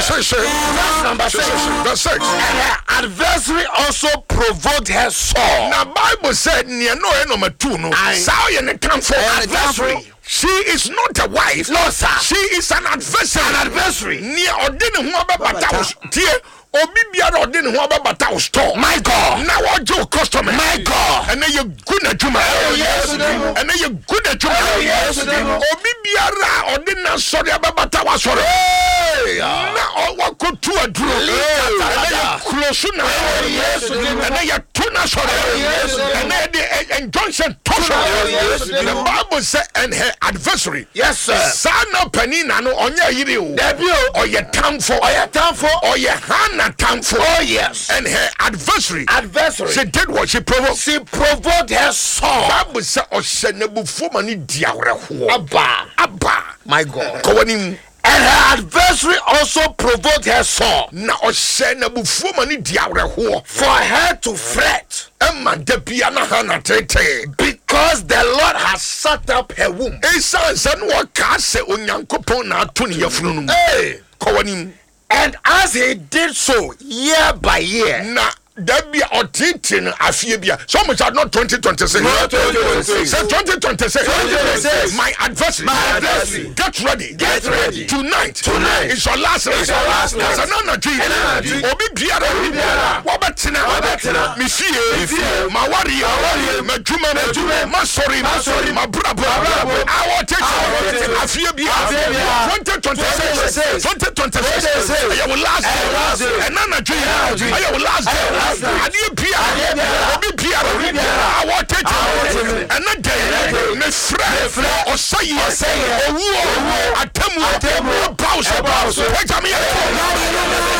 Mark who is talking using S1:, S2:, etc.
S1: Sese.
S2: Verse number 6.
S1: Verse 6.
S2: And her adversary also provoked her sore.
S1: Na Bible sɛ nea na ɔyɛ number 2 no,
S2: Aye.
S1: saa ɔyɛ ne tamfo.
S2: Adversary.
S1: She is not a wife.
S2: No, sir.
S1: She is an adversary.
S2: An adversary.
S1: Nea ɔde ne ho abɛbata wo tie, obi biara ɔde ne ho abɛbata wo store.
S2: My God.
S1: Na wɔgye wo customer.
S2: My God.
S1: Ɛnɛ yɛ gu n'adwuma.
S2: Yesu din mu.
S1: Ɛnɛ yɛ gu n'adwuma.
S2: Ɛwɔ Yesu din mu.
S1: Obi biara a ɔde n'asɔre abɛbata w'asɔre. Na wakɔtu aduro. Ɛnɛ yɛ kurosu n'asɔre.
S2: Yesu din mu.
S1: Ɛnɛ yɛ to n'asɔre.
S2: Yesu din mu.
S1: Ɛnɛ yɛ de injunction to so.
S2: Ɛwɔ Yesu din
S1: The
S2: mu.
S1: Bible say and her adversary.
S2: Yes, sir.
S1: Saa na panin na no ɔnyɛ yere o.
S2: Dabi o.
S1: Ɔyɛ tamfo.
S2: Ɔyɛ tamfo.
S1: Ɔyɛ Hannah tamfo.
S2: Oh, yes.
S1: And her adversary.
S2: Adversary.
S1: She did what? She provoked.
S2: She provoked her sore.
S1: Bible sɛ ɔhyɛ n'abufuo ma ne di awerɛhoɔ.
S2: Abba.
S1: Abba.
S2: My God.
S1: Kɔ w'anim.
S2: And her adversary also provoked her sore.
S1: Na ɔhyɛ n'abufuo ma ne di awerɛhoɔ.
S2: For her to fret.
S1: Ɛma da bia na Hannah tetee.
S2: Because the Lord has shut up her womb.
S1: Esiane sɛ na ɔkaa sɛ Onyankopɔn na ato ne yafunu no mu.
S2: Hey.
S1: Kɔ w'anim.
S2: And as he did so year by year.
S1: Na da bi a ɔtetee no afie bi a. So much not 2026.
S2: Not 2026.
S1: Say 2026.
S2: 2026.
S1: My adversary.
S2: My adversary.
S1: Get ready.
S2: Get ready.
S1: Tonight.
S2: Tonight.
S1: Is your last night.
S2: It's your last night.
S1: Sɛ na anadwo yi.
S2: Ɛna anadwo yi.
S1: Obi biara.
S2: Obi biara.
S1: Wabɛtena.
S2: Wabɛtena.
S1: Me fie.
S2: Me fie.
S1: Ma wareɛ.
S2: wareɛ.
S1: M'adwuma mu.
S2: M'adwuma mu.
S1: M'asɔre mu.
S2: M'asɔre mu.
S1: M'abrabɔ.
S2: M'abrabɔ.
S1: Awɔ tete.
S2: Awɔ tete.
S1: Afie biara.
S2: Afie biara.
S1: 2026.
S2: 2026.
S1: 2026. Ɛyɛ wo last
S2: Ɛyɛ wo last
S1: day.
S2: day.
S1: Ɛna anadwo yi.
S2: Ɛna anadwo yi.
S1: Ɛyɛ wo last day.
S2: Ɛyɛ wo last day.
S1: Adeɛ biara.
S2: Adeɛ biara.
S1: Obi biara.
S2: Obi biara.
S1: Awɔ tete.
S2: Awɔ tete.
S1: Ɛna dɛ.
S2: Ɛnɛ dɛ.
S1: Mefrɛ.
S2: Mefrɛ.
S1: Ɔsɛeɛ.
S2: Ɔsɛeɛ.
S1: Owuo.
S2: Owuo.
S1: Atemmuo.
S2: Atemmuo.
S1: Ɛba wo so.
S2: Ɛba wo so.
S1: Pagya me yɛ.